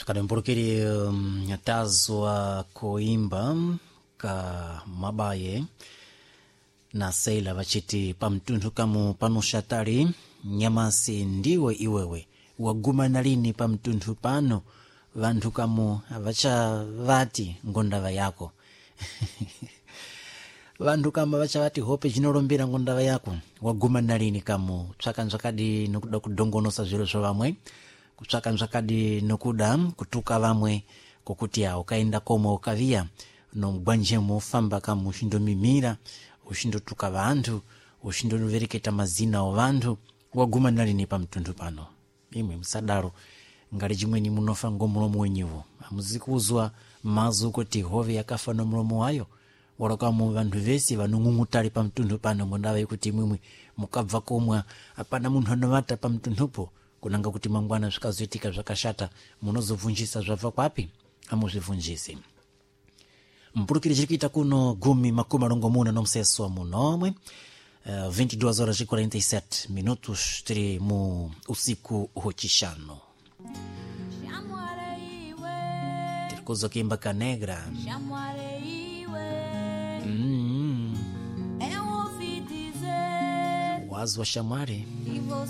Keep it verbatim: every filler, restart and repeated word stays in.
Zvakademburukiri um, tazwa kuimba ka mabaye na seila vachiti pamtunthu kamu panoshatali nyamasi ndiwe iwewe wagumana lini pamtunthu pano vanthu kamu vachavati ngondava yako vanthu kama vachavati hope jinolumbira ngondava yako wagumana lini kamu tsvaka nzvakadi nokuda kudongonosa zviro zva vamwe kutsvaka nzvakadi nokuda kutuka vamwe kokuti ya ukaenda komwe ukaviya nomugwanjemo ufamba kamu uchindomimira uchindotuka vanthu uchindovereketa mazina o vanthu waguma nalini pamtunthu pano imwe musadalo ngali chimweni munofa ngomulomo wenyiwo amuzikuzwa mazu kuti hove yakafa nomulomo wayo walokamo vanthu vesi vanong'ung'utali pamtunthu pano ngondava ikuti imwimwi mukabva komwa apana munthu anovata pamtunthupo kunanga kuti mangwana zvikazoitika zvakashata munozobvunjisa zvabva kwapi amuzvibvunjisi mpulukiri chiri kuita kuno gumi makumi marongomuna nomseso munomwe uh, vinte e duas horas e quarenta e sete minutos tiri mu usiku hwechishanu Shamware iwe, tiri kuzwa kuimba kanegra shamware iwe, mm, eu ouvi dizer wazwa shamwari que você